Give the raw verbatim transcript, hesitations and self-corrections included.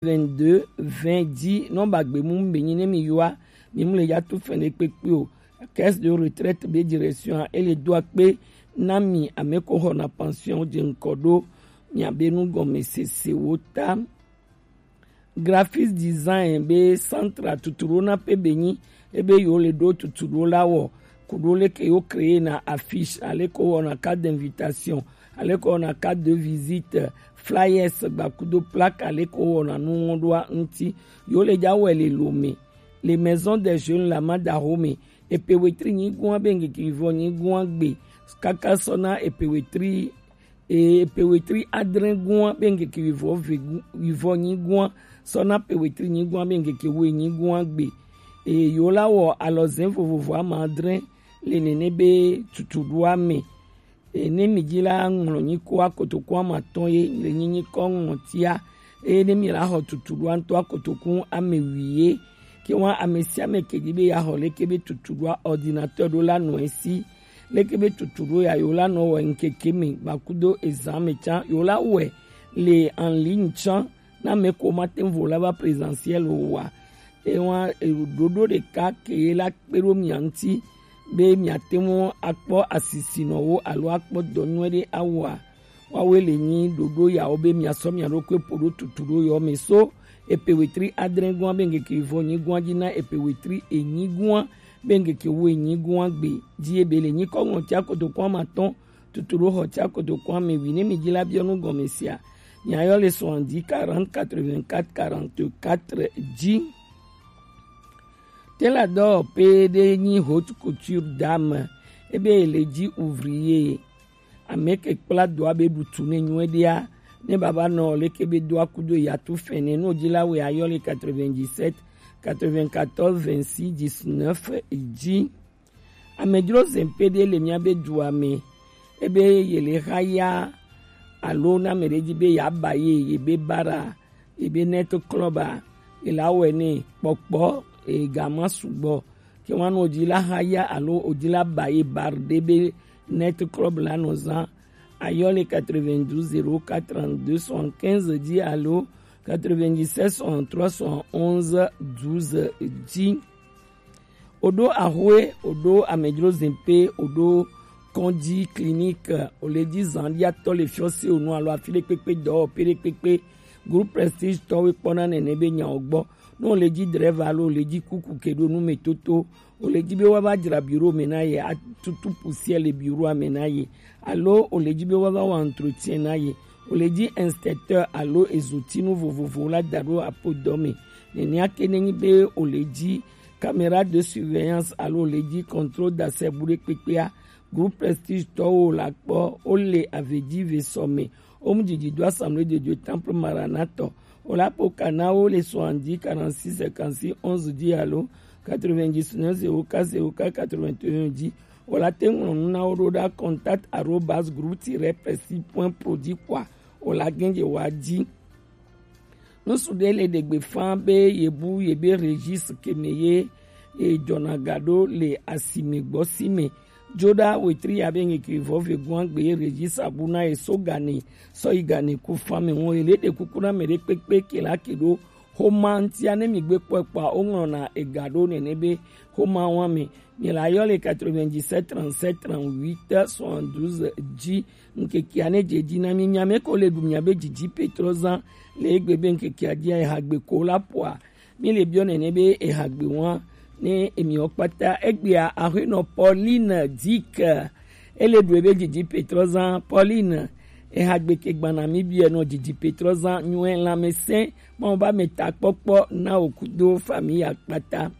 vingt-deux vingt dix, nɔ ba gbe mu be nyi ne mi yua, mi mu le ya tu fɛn ɖe kpekpe o. Caisse de retraite be direction a, ele do akpe na mi ame ko xɔna pension je ŋkɔ ɖo mia be nu gɔme sese wo ta. Graphics design be centre tutu ɖo na pe be nyi, ebe yo le ɖo tutu ɖo la wɔ, ku ɖo leke yo créer na affiche, ale ko wɔna carte d'invitation, ale ko wɔna carte de visite, flyers, gbakudo plaque, ale ko wɔna nuŋɔɖoa ŋuti. Yo le ja wɛ le Lome, le Maison des Jeunes la ma da home, epe wetri nyigua be ŋkeke vɔ nyigua gbe, kaka sɔna epe wetri, e, epe wetri adre gua be ŋkeke wivɔ ve gu-, wivɔ nyigua sɔna pe wetri nyigua be ŋkeke we nyigua gbe. E, yo la wɔ alɔzɛn vovovo ama adre le nene be tutuɖoa me. E, ne mi ji la ŋlɔ nyiko akotoku ama tɔn ye le nyi nyikɔ ŋlɔtia. Eye ne mi la xɔ tutuɖoa ŋutɔ akotoku ame wi ye. Ke wa ame sia ame ke ji be ya xɔ leke be tutuɖoa ordinateur ɖo la nɔ esi. Leke be tutuɖo ya yo la nɔ wɔ ŋkeke me gbakudo ezan me can yo la wɛ le en ligne can na me ko ma te vo la va présentiel o wa. E wa e ɖoɖo ɖeka ke ye la kpe ɖo mia ŋuti be mia te ŋu akpɔ asisinɔwo alo akpɔ dɔ nyuie ɖe awɔa. Woawoe le nyi ɖoɖo yawo be miasɔ mia ɖokui ƒo ɖo tutuɖo yawo me so epe wetri adre gua be ŋkeke vɔ nyigua ji na epe wetri enyi gua be ŋkeke wo enyi gua gbe ji ebe le nyikɔ ŋlɔtia kotoku ama tɔn tutuɖo xɔtia kotoku ame wi ne mi ji la biɔ nu gɔme sia. Miayɔ le soixante-dix quarante quatre-vingt-quatre quarante-quatre ji. Te la dɔ pe ɖe nyi haute couture dame ebe le ji ouvrier. Ame ke kpla doa be ɖutu ne nyuie ɖea, ne baba nɔ leke be doa kudo ya tu fɛnɛ no ji la wɛ ayɔ le quatre-vingt-dix-sept quatre-vingt-quatorze vingt-six dix-neuf ji. Amedzro zɛn pe ɖe le mia be dua me, ebe ye le xa ya alo na me ɖe ji be ya ba ye, ye be bara, ye be net club a, ye la wɛ ne kpɔkpɔ, e gama sugbɔ. Ke wa no ji la xa ya alo o ji la ba ye bar ɖe be net club la nɔ zan. Ayɔ le quatre-vingt-douze zéro quatre trente-deux soixante-quinze ji alo quatre-vingt-dix-sept soixante-trois soixante-onze douze ji. Oɖo axwe, oɖo amedzro zɛn pe, oɖo kɔndzi clinique, o le ji zan ɖia tɔ le fiɔ se o nu alo afi ɖe kpekpe dɔ o pe ɖe kpekpe. Groupe Prestige tɔ we kpɔna nene be nya o gbɔ. Ne o le ji drɛva alo o le ji kuku ke ɖo nu me toto, o le ji be wa va dzra bureau me na ye, atutu poussière le bureau me na ye, alo o le ji be wa va wa entretien na ye, o le ji inspecteur alo ezotinu vovovo la da ɖo apo dɔ me. Nenea ke ne nyi be o le ji caméra de surveillance alo o le ji contrôle d'accès bu ɖe kpekpea, Groupe Prestige tɔwo la kpɔ, o le ave ji ve sɔ me, o mu didi do Assemblée de Dieu Temple Maranatha. O la po kana wo le soixante-dix quarante-six cinquante-six onze dix alo quatre-vingt-dix-neuf zéro quatre zéro quatre quatre-vingt-un ji. O la te ŋlɔ nu na wo ɖo ɖa contact arobase groupe tiret prestige point pro ji kpɔa. O la gɛn je wa ji. Nusu ɖe le ɖegbe fã be yebu yebe registre ke me ye, ye jɔna ga ɖo le asime gbɔ si me. Joɖa wetri ya be ŋkeke vɔ ve gua gbe ye registre abu na ye so gane sɔ yi gane ku fã me ŋu. Ye le ɖe kuku na me ɖe kpekpe ke la ke ɖo xoma ŋtia ne mi gbe kpɔe kpɔa, o ŋlɔna ega ɖo nene be xoma wa me. Mi la yɔ le quatre-vingt-dix-sept trente-sept trente-huit soixante-douze ji. Ŋkekea ne je ji na mi, mia me ko le ɖu mia be didi pe trɔ zan le egbe be ŋkekea jia ehagbe ko la poa. Mi le biɔ nene be ehagbe wa ne emiɔ kpata egbea axenɔ Pauline Dick ele ɖu ebe didi pe trɔ zan. Pauline, ehagbe ke gbana mi biɛ nɔ didi pe trɔ zan nyuɛ lamɛsɛn Mawu ba me takpɔkpɔ na o kudo famille ya kpata.